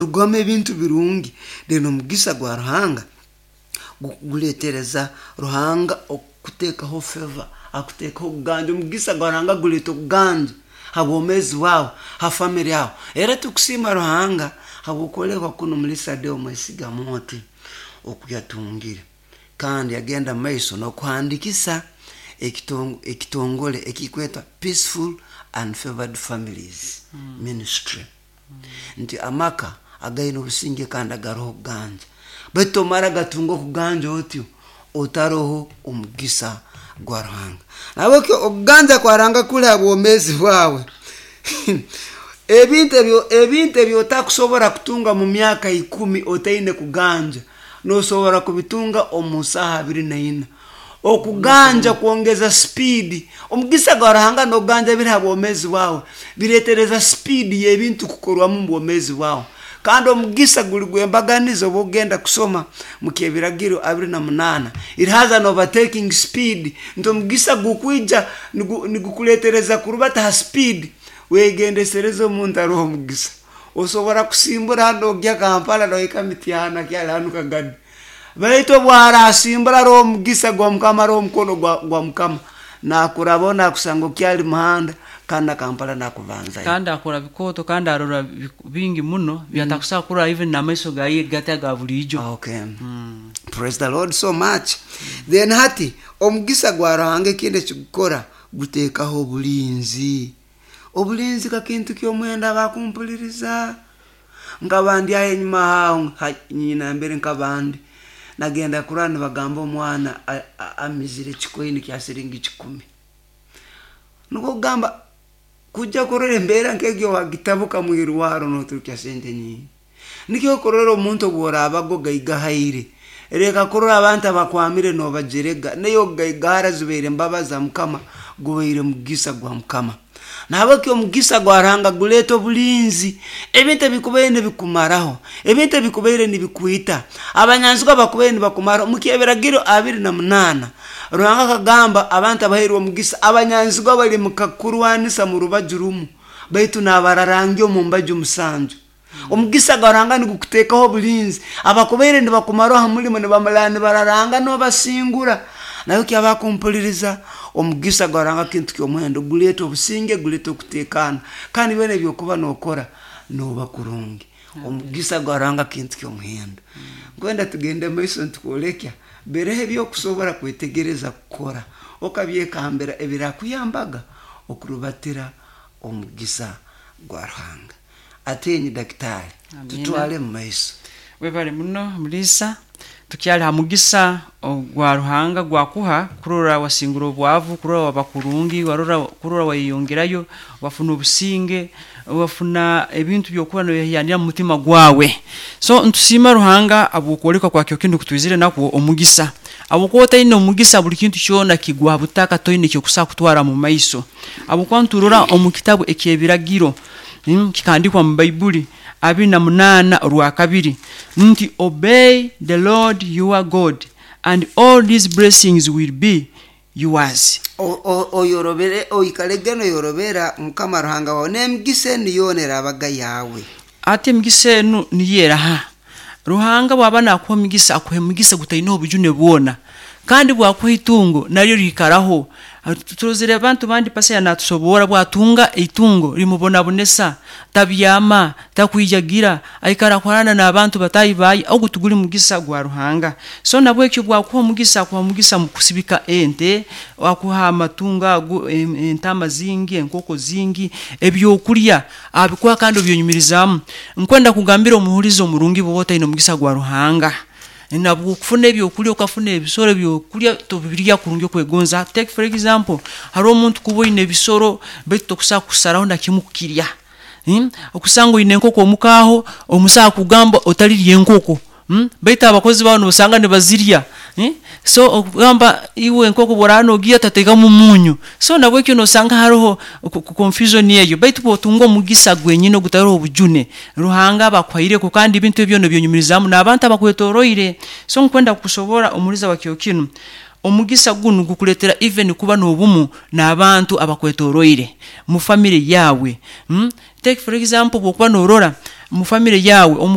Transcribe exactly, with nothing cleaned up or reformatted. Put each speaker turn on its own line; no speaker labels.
Rugwamu ebintu birungi. Then omugisa gwa Ruhanga guletereza Ruhanga okuteekaho favor, akuteekaho okuganja. Omugisa gwa Ruhanga guleeta okuganja ha bwomeezi bwawe, ha family yawe. Era tukusiima Ruhanga habw'okwolekwa kunu Mulisa Deo Mwesiga Moti oku yatungire, kandi yagenda mu maiso n'okuhandikisa ekitongole ekikwetwa Peaceful and Favored Families Ministry, nti amaka againe obusinge kandi agaroho okuganja. Baitu tomara gatunga okuganja otyo otaroho omugisa gwa Ruhanga. Nahabwekyo okuganja kwa Ruhanga kuli ha bwomeezi bwawe. Ebintu ebintu ebi otakusobora kutunga mu myaka ikumi otaine kuganja, nosobora kubitunga omu saaha abiri na ina. Okuganja kwongeza sipiidi. Omugisa gwa Ruhanga n'okuganja biri ha bwomeezi bwawe bireetereza sipiidi y'ebintu kukorwamu mu bwomeezi bwawe. Kandi omugisa guli gw'embaganiza obu okugenda kusoma mu Kyebiragiro abiri na munaana, it has an overtaking speed, nti omugisa gukwija nigukuleetereza kurubata ha sipiidi. Wegendesereze omuntu aroho omugisa. Osobora kusimbura hanu nogya Kampala nohika Mityana kyali hanu Kagadi, baitu obu arasimbura aroho omugisa gwa Mukama, aroho omukono gwa Mukama, nakurabaho nakusanga okyali muhanda, kandi na Kampala nakubanzayo.
Kandi akora bikooto, kandi arora bingi muno byatakusobora kurora even n'amaiso gaye gati aga buliijo.
Okay, praise the Lord so much. Then hati omugisa gwa Ruhanga ekindi ekigukora, guteekaho obulinzi. Obulinzi kakintu ky'omuhendo abakumpuliriza. Nkaba ndi aho enyuma aho nyina mbere nkaba ndi nagenda kurora nibagamba omwana amizire ekikoini kya siringi kikumi. Nukwo kugamba kujja kurora embeera nk'egyo wagitabuka mwirwarro noturukya sente nyingi. Nikyo kurora omuntu obu oraabaga ogaigahaire, leka kurora abantu abakwamire nobajerega, naye okugaigahara zibaire embabazi za Mukama, gubaire mugisa gwa Mukama. Nahabweki omugisa gwa Ruhanga guleeta obulinzi. Ebintu ebikubaire nibikumaraho, ebintu ebikubaire nibikwita, abanyanzigwa bakubaire nibakumaraho. Mu Kyebiragiro abiri na munaana, Ruhanga akagamba abantu abahairwe omugisa, abanyanzigwa bali mukakurwanisa mu rubaju rumu, baitu nabararangya omu mbaju musanju. Omugisa gwa Ruhanga nigukuteekaho obulinzi. Abakubaire nibakumaraho ha mulimo nibamara nibararanga nobasingura. Nahabweki abakumpuliriza, omugisa gwa Ruhanga kintu ky'omuhendo, guleeta obusinge, guleeta okuteekaana, kandi byona ebyokuba nokora noba kurungi. Omugisa gwa Ruhanga kintu ky'omuhendo. Nkwenda tugende maiso nitukwolekya biroho ebyokusobora kwetegereza kukora okabyekambira ebirakuyambaga okurubatira omugisa gwa Ruhanga. Atenyi dakitaali, tutwale mu maiso.
Webale muno Mulisa. Tukyali ha mugisa gwa Ruhanga gwakuha kurora wasingura obwavu, kurora waba kurungi, warora kurora wayeyongerayo, wafuna obusinge, wafuna ebintu byokuba noyehiyanira mu mutima gwawe. So ntusiima Ruhanga habw'okwolekwa kwa kyo kinu kutwizire nakwo omugisa. Habwokuba otaine omugisa buli kintu kyona kigwa butaka, toine ekyokusobora kutwara mu maiso. Habwokuba nturora omu kitabu eky'ebiragiro, mm, kikahandikwa mu Baibuli abiri na munaana orwakabiri nti, "Obey the Lord your God and all these blessings will be yours."
Oyorobere, oikalege noyorobera Mukama Ruhanga wawe, n'emigisa enu yoona erabaga yawe.
Ati emigisa enu niyo eraha? Ruhanga bwaba nakuha omugisa, akuha emigisa gutaine obujune bwona, kandi bwakuha itungo naryo liikaraho. Turozere abantu bandi, pastor natusobora, bwatunga itungo limubonabonesa, tabyama, takwijagira, aikara kuharana n'abantu batahi baye. Ogu tuguli mugisa gwa Ruhanga. So nabwekyo bwakuha omugisa, akuha omugisa mu kusibika ente, akuha amatungo ago, entama zingi, enkoko zingi, ebyokulya abikuha kandi obyonyumirizaamu. Nkwenda kugambira omuhulizi omurungi, bwoba otaine omugisa gwa Ruhanga, nabwo okufuna ebyokulya, okafuna ebisoro ebyokulya, tobirya kurungi okwegonza. Take for example, haroho omuntu kuba oine ebisoro baitu tokusobora kusaraho na kimu kukirya, hmm? Okusanga oine enkoko omuka aho, omusaho akugamba otalirya enkoko, hmm? Baitu abakozi bawe nosanga nibazirya, hmm? So okugamba iwe enkoko bworaba nogirya otateekamu omunyu. So nabwekyo nosanga haroho confusion eyo. Baitu bwotunga omugisa gwenyini ogutaroho obujune, Ruhanga aba akuhaireko, kandi ebintu ebyo nobyonyumirizaamu n'abantu abakwetoroire. So nkwenda kukusobora omuliza wa kiro kinu, omugisa gunu gukuleetera even kuba n'obumu n'abantu abakwetoroire mu family yawe, hmm? Take for example, bwokuba norora Mu famire yawe, omu